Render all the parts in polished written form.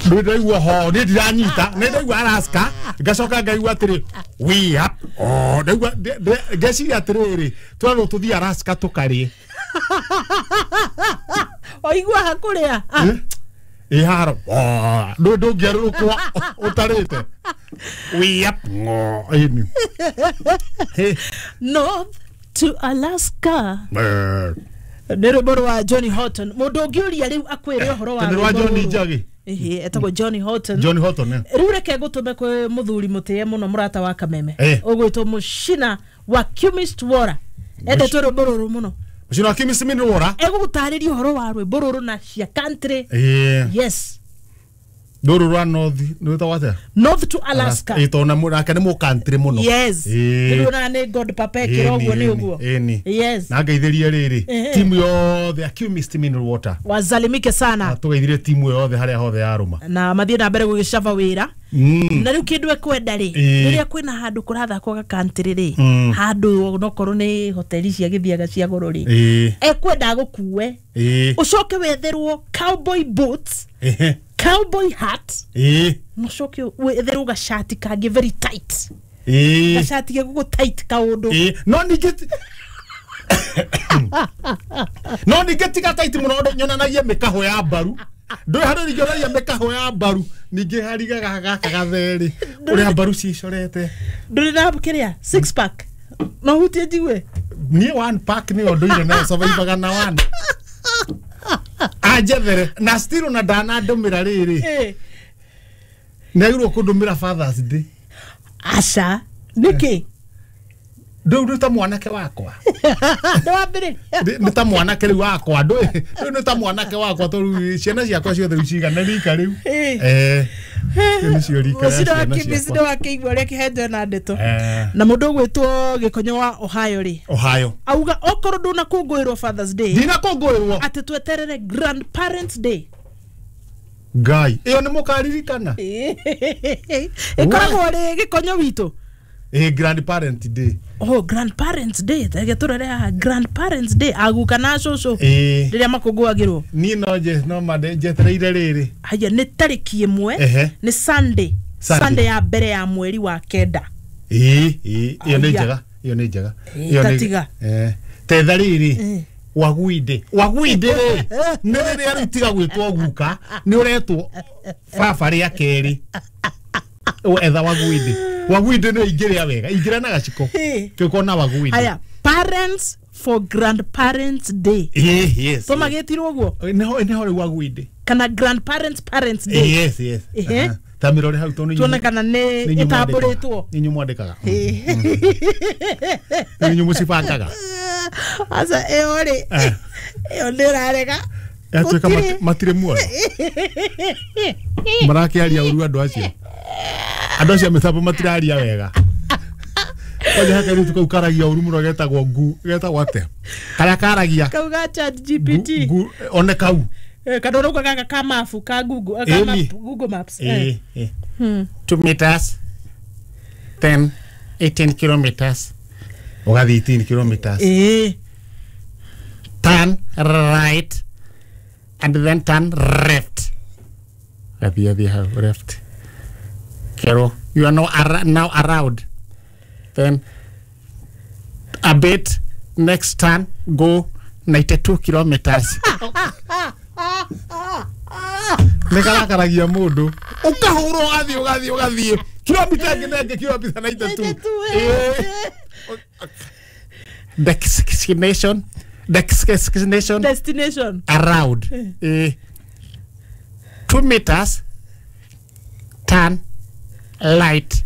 Ndĩraigua ho nĩ ndiranyita nĩ ndaigua Alaska ngacoka ngaigua atĩrĩ we up oh ndaigua ngeciria atĩrĩrĩ twerwo tũthiĩ Alaska tũkarĩe oigua hakũrĩa ĩ haro ndũngĩarũrũkwo ũtarĩte we up ĩni North to Alaska nĩ rwĩmbo rwa Johnny Horton mũndũ ũngĩũria rĩu akwĩre ũhoro wa rwa Johnny Njagi ehe etagwo Johnny Horton Johnny Horton rĩu reke ngũtũme kwĩ mũthuri mũtĩe mũno mũrata wa Kameme ũgwĩtwo Mũcina wa Chemist Wora endetwo rwĩmbo rũrũ mũno Mũcina wa Chemist Wora egũgũtarĩria ũhoro wa rwĩmbo rũrũ na cia country yes rũrũ rwa North nĩ wĩtagwo atĩa North to Alaska ĩ tondũ nake nĩ mũkantri mũno yes rĩu ona nĩ God Papa ekĩra ũguo nĩ ũguo yes na ngeithĩrie rĩrĩ timu yothe ya Chemist Mineral Water wazalimike sana tũgeithirie timu yothe harĩa hothe yarũma na mathiĩ na mbere gũgĩcaba wĩra na rĩu kĩndũ ekwenda rĩ rĩrĩa kwĩna handũ kũrathakwo ga country rĩ handũ onokorwo nĩ hoteli cia gĩthiaga cia goro rĩ ekwenda agũkue ũcoke wetherwo cowboy boots cowboy hat no coke wetherwo gacati kangĩ very tight gacati gegũkũ tight kaũndũ no ningĩ no ningĩ tiga tight mũno nyonanagie mĩkahũ ya mbaru ndũĩ handũ ningĩ onanagia mĩkahũ ya mbaru ningĩ harigaga gaka gatherĩ ũrĩa mbaru cicorete ndũrĩ na kĩrĩa six pack no hutie njigue niĩ one pack nĩyo ndũire nayo survivaga na one anjethere na still na ndanandũmĩra rĩrĩ nĩagĩrĩirwo kũndũmĩra Father's Day aca nĩkĩ ndũu nĩ ta mwanake wakwa ndwambĩrĩria nĩ ta mwanake rĩu wakwa ndũĩ rĩu nĩ ta mwanake wakwa tondũ ciana ciakwa ciothe rĩu cigana rika rĩu nĩcio rika rĩa ciana ciakwa wakĩigua ũrĩa kĩhenjo na ndeto na mũndũ ũgwĩtwo Gĩkonyo wa Ohio rĩ Ohio auga okorwo ndũnakũngũĩrwo Father's Day ndinakũngũĩrwo atĩ tweterere Grandparents Day Ngai ĩyo nĩ mũkaririkana ĩkoragwo rĩ Gĩkonyo witũ Grandparent Day oh Grandparents Day reke tũrore haha Grandparents Day aguka na cũcũ rĩrĩa makũngũagĩrwo niĩ no nje no mande njetereire rĩrĩ haya nĩ tarĩki ĩmwe nĩ Sunday Sunday ya mbere ya mweri wa kenda ĩyo nĩ njega ĩyo nĩ njega ĩyo nĩ tetha rĩrĩ waguinde waguinde rĩ nĩ rĩrĩa rĩu tiga gwĩtwo guka nĩ ũretwo baba rĩa kerĩ etha waguinde waguinde nĩ ingĩrĩa wega ingĩra na gaciko kĩũkona waguinde haya parents for Grandparents Day yes tũmagĩtirwo ũguo nĩho rĩu waguinde kana Grandparents Parents Day yes yes ta mĩrore hau tondũ tuone kana nĩ ĩtambũrĩtwo nĩ inyuĩ mwandĩkaga nĩ inyuĩ mũcibangaga aca ĩyo rĩ ĩyo nĩ ĩrarega yatuĩka matirĩ muoyo marakĩaria ũru andũ acio andũ acio a mĩtambo matiraria wega kwanja he kairĩtu kau karagia ũru mũno getagwo ngu getagwo atĩa karĩa karagia kau ga ChatGPT one kau kana ũrauga gaka ka mabu ka Google ka map, Google Maps 2 meters 10 18 kilometers ũgathiĩ 18 kilometers turn right and then turn left gathiĩ athiĩ hau left Kero, you are now, now around. Then a bit next turn go 92 kilometers. Nĩkarakaragia mũndũ ũkahũrwo ũgathiĩ ũgathiĩ ũgathiĩ kilomita ĩngĩ na ĩngĩ kilomita 92 destination destination destination around 2 meters turn light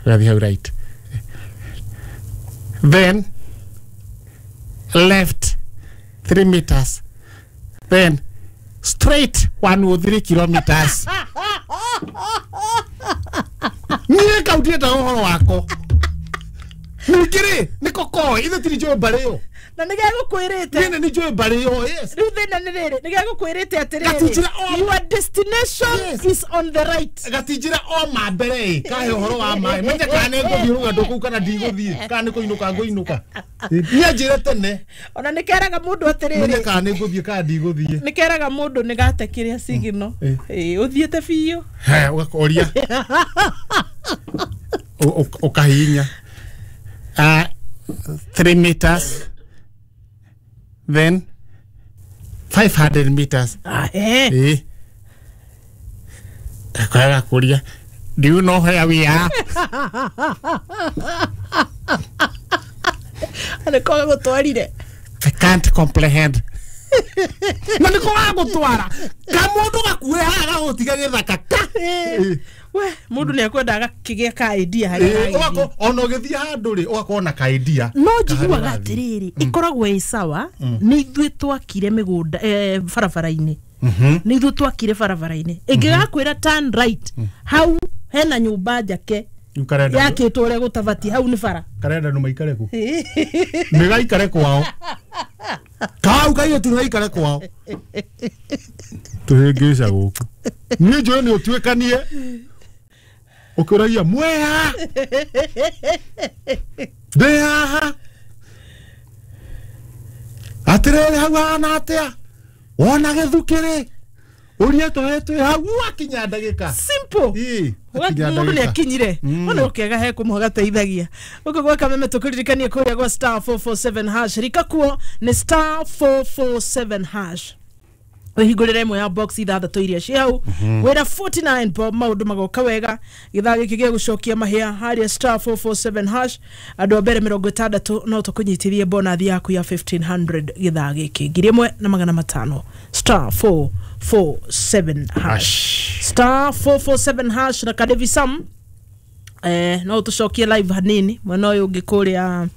right then left 3 meters then straight 103 kilometers niĩ kaundiĩte ũhoro wako ningĩ rĩ nĩko koĩ ithe tiri njũĩ mbarĩ ĩyo Na nĩ gegũkwĩrĩte. Niĩ nĩ njũĩ mbarĩ ĩyo, yes. Rĩu thĩna nĩ rĩrĩ, nĩ gegũkwĩrĩte atĩrĩrĩ, your destination is on the right. Gatinjĩra o ma mbere ĩ, kahe ũhoro wa maĩ. Menye kana nĩ ngũthiĩ rũgendo kũu kana ndigũthiĩ, kana nĩ kũinũka ngũinũka. Niĩ njĩre tene. Ona nĩ keraga mũndũ atĩrĩrĩ. Menye kana nĩ ngũthiĩ kana ndigũthiĩ. Nĩ keraga mũndũ nĩ gate kĩrĩa signal. Ĩ, ũthiĩte biũ. He, ũgakoria. Ũkahihinya. 3 meters, then 500 meters. Eh. Kakoria. Do you know where we are? I can't comprehend. Na niko gagũtwara. Kamundu gakuhe haha gagũtiga gĩthaka ka. We, mundu nĩ ekwenda agakĩgĩa ka idea harĩa. Ũgako ona ũgĩthiĩ handũ rĩ, ũgakorwo na ka idea. No njiguaga atĩrĩrĩ, ĩkoragwo ĩ sawa, nĩ ithuĩ twakire mĩgũnda barabara-inĩ. Nĩ ithuĩ twakire barabara-inĩ. Ĩngĩgakwĩra turn right, hau hena nyũmba njake. Yakĩtwo ũrĩa gũtabatiĩ, hau nĩ bara. Karenda nũ maikare kũ? Nĩ gaikare kwao. Kau kairĩtu nĩ gaikare kwao. Tũhĩngĩca gũkũ. Niĩ njũĩ nĩ ũtuĩkanie. Ũkĩũragia mwea. Ndĩ haha. Atĩrĩrĩ hau hahana atĩa? Wona gĩthukĩrĩ. Ũria tũhĩ twĩ hau wakinya ndagĩka. Simple. Mũndũ nĩ akinyire. Ona ũkĩaga he kũmwe gateithagia. Gũkũ gwa Kameme tũkũririkanie kũrĩa gwa star 447 hash. Rika kuo nĩ star 447 hash. Wĩhingũrĩre ĩmwe ya box ithathatũ iria ciĩ hau. Wĩra 49 bob maũndũ magoka wega. Gĩthaa gĩkĩ gĩa gũcokia mahĩa harĩa star 447 hash. Andũ a mbere 60 no tũkũnyitithie bonathi yaku ya 1500 gĩthaa gĩkĩ. 1500 star 447 hash. Star 447 hash na Kadevi Sam. No tũcokie live hanini mwena ũyũ ũngĩ kũrĩa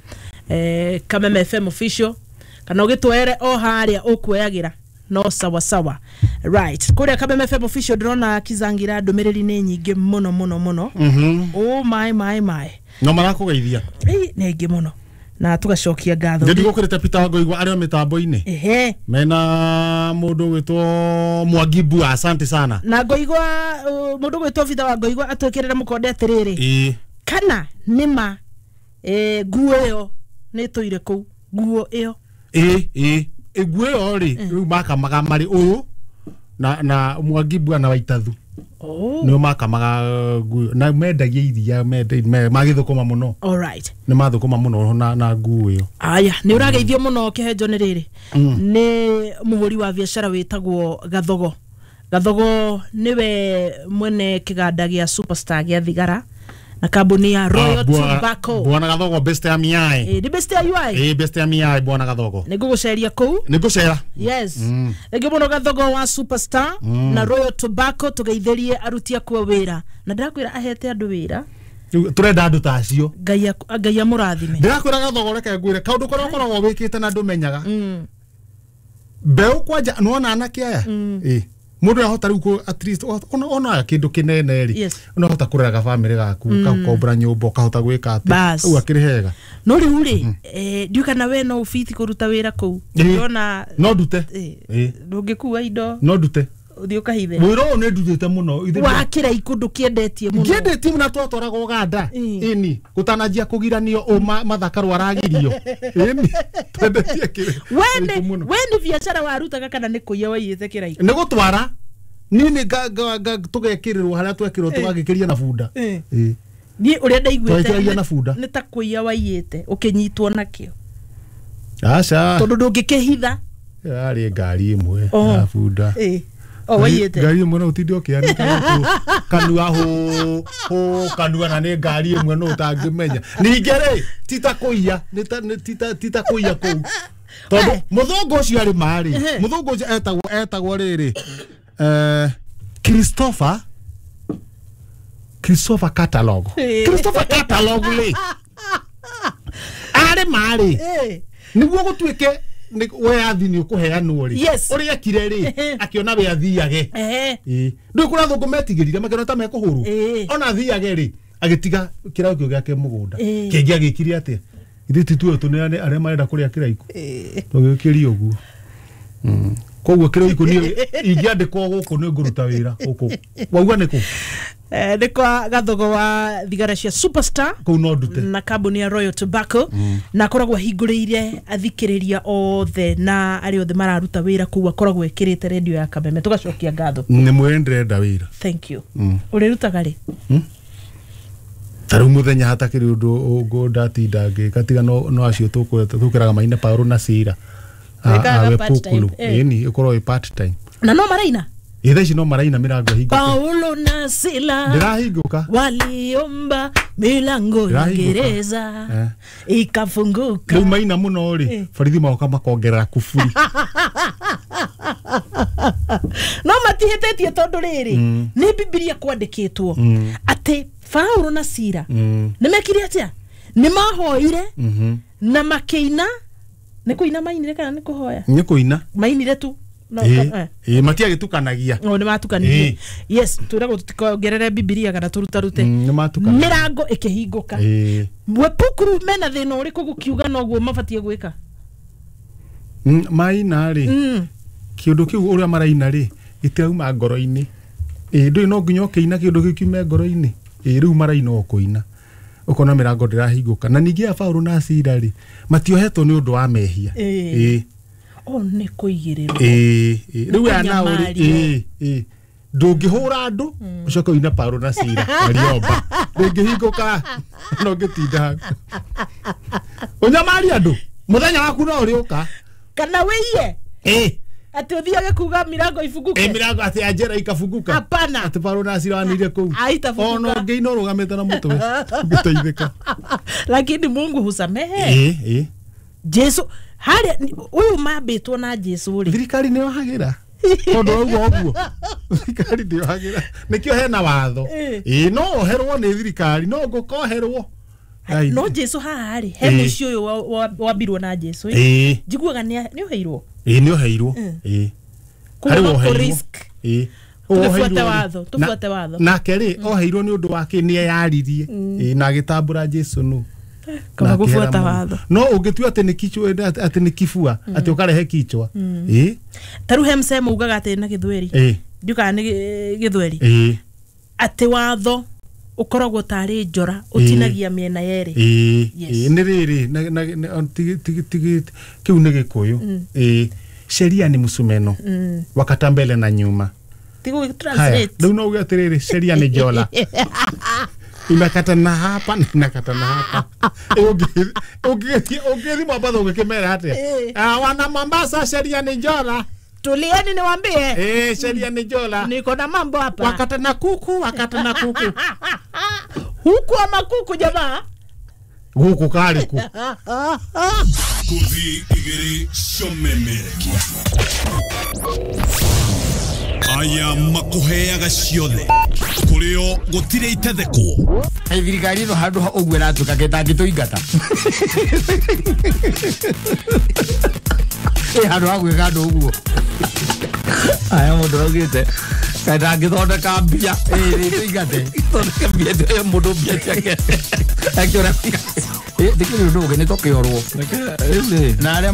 Kameme FM official kana ũgĩtwere o harĩa ũkuoyagĩra. No sawa sawa. Right. Kũrĩa Kameme FM official ndĩrona Kizangira ndũmĩrĩri nĩ nyingĩ mũno mũno mũno. Oh my my my. No marakũgeithia. Nĩ nyingĩ mũno. Na tugacokia ngatho. Ndĩ ndigũkĩrĩte Peter Ngoigwa arĩ o mĩtambo-inĩ. Ehe. Mena mũndũ ũgwĩtwo Mwangi Mbua, asante sana. Na Ngoigwa mũndũ ũgwĩtwo Peter wa Ngoigwa atwĩkĩrĩre mũkonde atĩrĩrĩ. Ĩĩ. Kana nĩma nguo ĩyo nĩ ĩtũire kũu. Nguo ĩyo. Ĩĩ. Nguo ĩyo rĩ, rĩu makamaga marĩ ũyũ na Mwangi Mbua na Waitathu. Nĩo makamaga nguo na mendagia iria magĩthũkũma mũno. All right. Nĩ mathũkũma mũno na nguo ĩyo. Aya, nĩ ũrageithio mũno kĩhenjo nĩ rĩrĩ. Nĩ mũhũri wa biacara wĩtagwo Gathogo. Gathogo nĩwe mwene kĩganda gĩa Superstar gĩa thigara na kambuni ya Royal Tobacco. Bwana Gathogo best ya miai. Nĩ best ya UI. Best ya miai bwana Gathogo. Nĩ ngũgũceria kũu. Nĩ ngũcera. Yes. Rĩngĩ mũno Gathogo wa Superstar na Royal Tobacco tũgeithĩrie aruti akuo wĩra. Na ndĩrakwĩra ahete andũ wĩra. Tũrenda andũ ta acio. Ngai amũrathime. Ndĩrakwĩra Gathogo reke ngwĩre kaũndũ karĩa ũkoragwo wĩkĩte na ndũmenyaga. Mbeũ kwanja nĩwona anake aya? Ĩĩ. Mũndũ ahota rĩu at least ona kĩndũ kĩnene rĩ, ũnahota kũrera gabamĩrĩ gaku, ũkagombora nyũmba, ũkahota gwĩka atĩ. Rĩu akĩrĩ hega. No rĩu rĩ, ndiũĩ kana we no ũbiti kũruta wĩra kũu. Ndĩrona no ndute. Ndũngĩkua indo. No ndute. Ũthiĩ ũkahithe. Wĩra ũyũ nĩ ndutĩte mũno. Wa kĩraiku ndũkĩendetie mũno. Ngĩendetie mũno twatwaraga Ũganda. Ĩni, gũtananjia kũgiranio ũ Mathakarũ aragirio. Ĩni, twendetie kĩraiku mũno. We nĩ biacara warutaga kana nĩ kũiya waiyĩte kĩraiku? Nĩ gũtwara. Niĩ nĩ tũgekĩrĩrwo harĩa twekĩrwo tũgagĩkĩria na bunda. Niĩ ũrĩa ndaiguĩte Twagĩkĩragia na bunda. Nĩ ta kũiya waiyĩte ũkĩnyitwo nakĩo. Aca. Tondũ ndũngĩkĩhitha. Yarĩ ngari ĩmwe ya bunda. O waiyĩte. Ngari ĩmwe no ũtinde ũkĩanĩka kanua hũ hũ kanua na nĩ ngari ĩmwe no ũtangĩmenya. Ningĩ rĩ ti ta kũiya, ti ta kũiya kũu. Tondũ mũthũngũ ũcio arĩ ma rĩ, mũthũngũ ũcio etagwo rĩrĩ Christopher Catalog. Christopher Catalog rĩ arĩ ma rĩ nĩguo gũtuĩke weathi nĩ ũkũheanwo rĩ, ũrĩa ekire rĩ akĩona we athiage. Ndũĩ kũrĩa athũngũ metigĩrire makĩona ta mekũhũrwo. Ona athiage rĩ agĩtiga kĩraũ kĩu gĩake mũgũnda. Kĩngĩ agĩkire atĩa? Ithuĩ ti tuo tũneane arĩa marenda kũrĩa kĩraikũ. Tũgĩkĩria ũguo. Koguo kĩraikũ niĩ ingĩandĩkwo gũkũ nĩ ngũruta wĩra gũkũ. Wauga nĩ kũ? Nĩ kwa gathogo wa thigara cia Superstar kũu no ndute na kambuni ya Royal Tobacco, na akoragwo ahingũrĩire athikĩrĩria othe na arĩa othe mararuta wĩra kũu, akoragwo ekĩrĩte redio ya Kameme. Tũgacokia ngatho. Nĩ mwĩre ndĩrenda wĩra. Thank you. Ũrĩrutaga rĩ? Ta rĩu mũthenya hatakĩrĩ ũndũ ũngũ ndatinda ngĩka tiga no acio tũkĩraga maina Paũlũ na Sila. Wĩkaga part time, Ĩni ĩkorwo ĩ part time. Na no maraina? Ĩ thaa ici no maraina mĩrango ĩhingũke. Paulo na Sila ndĩrahingũka, waliomba milango ya gereza ikafunguka. Rĩu maina mũno rĩ, borithi magoka makongerera kuburi. No matihĩtĩtie tondũ rĩrĩ nĩ Bibilia kwandĩkĩtwo atĩ Paulo na Sila nĩ mekire atĩa? Nĩ mahoire na makĩina. Nĩ kũina mainire kana nĩ kũhoya? Nĩ kũina mainire tu. No, matiagĩtukanagia. Nĩ matukanirie. Yes, twĩragwo tũtikongerere Bibilia kana tũrutarute. Nĩ matukanagia. Mĩrango ĩkĩhingũka. Wepukuru mena thĩna ũrĩkũ gũkiuga noguo mabatiĩ gwĩka? Maina rĩ, kĩũndũ kĩu ũrĩa maraina rĩ gĩtirauma ngoro-inĩ. Ndũĩ no nginya ũkĩina kĩũndũ kĩu kiume ngoro-inĩ. Rĩu maraina o kũina, ũkona mĩrango ndĩrahingũka. Na ningĩ ya Paũlũ na Sila rĩ matiohetwo nĩ ũndũ wa mehia. Nĩ kũigĩrĩrwo. Rĩu aya nao rĩ, ndũngĩhũra andũ ũcoke ũine Paũlũ na Sila waliomba, ndũngĩhingũka no ũngĩtinda hau ũnyamarie andũ mũthenya waku no ũrĩũka. Kana wĩiye atĩ ũthiage kuga mirango ifunguke. Mirango atĩ ya njera ikafunguka. Hapana. Atĩ Paũlũ na Sila wanĩire kũu. Haitafunguka. Ona ũngĩina ũrũgamĩte na mũtwe ũngĩteithĩka. Lakini Mungu husamehe. Jesu harĩa ũyũ mambĩtwo na Jesu rĩ, thirikari nĩ yohagĩra tondũ wauga ũguo. Thirikari ndĩyohagĩra, nĩkĩo hena watho. No oherwo nĩ thirikari, no ngũkoherwo. No Jesu haha rĩ, he mũciĩ ũyũ wambirwo na Jesu njiguaga nĩ ũheirwo. Nĩ ũheirwo. Harĩ woheirwo. Tũbuate watho, tũbuate watho. Nake rĩ oheirwo nĩ ũndũ wake, nĩ eyaririe na agĩtambũra Jesu nũ. Kama gufuata watho. No ũngĩtua atĩ nĩ kichwa, atĩ nĩ kibua, atĩ ũkarehe kichwa. Ta rĩu he msemo ugaga atĩ na Gĩthweri. Ndiukaga nĩ Gĩthweri. Atĩ watho ũkoragwo tarĩ njora ũtinagia mĩena yerĩ. Nĩ rĩrĩ kĩu nĩ Gĩkũyũ. Sheria ni msumeno wakata mbele na nyuma. Tigo translate. Rĩu no uge atĩrĩrĩ, sheria ni njola inakata na hapa na inakata na hapa. Ũngĩthiĩ Mombasa ũgĩkĩmera atĩa? Wana Mombasa, sheria ni njola. Tulieni niwaambie. Sheria ni njola. Niko na mambo hapa. Wakata na kuku, wakata na kuku. Huku ama kuku jamaa? Guku kari ku. Kuthi igiri shomemerekia. Aya makuheaga ciothe kurio gutire itethekwo. Thirikari ĩno handũ ha ũguo ĩratuĩka ketangĩtũingata. Handũ ha gwĩka andũ ũguo. Aya mũndũ augĩte kaĩ ndangĩthondeka mbia tũingate. Thondeke mbia mũndũ mbia ciake. Akĩũra ndĩkĩrĩ ũndũ ũngĩ nĩ tũkĩorwo. Na arĩa